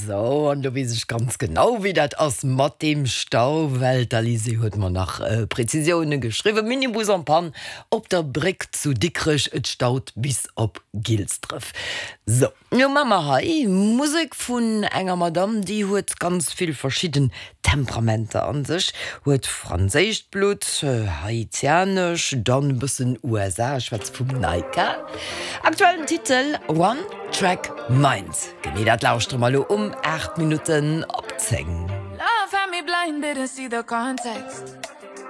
Sou, an do weess ech ganz genau, wéi dat ass mat deem Stau, well d'Alizée huet mer nach Prezisioune geschriwwen, Minibus en panne op der Bréck zu Dikrech, et staut bis op Gilsdref. Sou, lo maache mer hei Musek vun enger Madamm, déi huet ganz vill verschidden Temperamenter an sech, huet franséischt Blutt, haitianesch, dann e bëssen USA, ech schwätze vum Naika. Aktuellen Titel One Track Mind. Genee dat lauschtere mer elo um 8 Minutten op 10. Love had me blind, didn't see the context.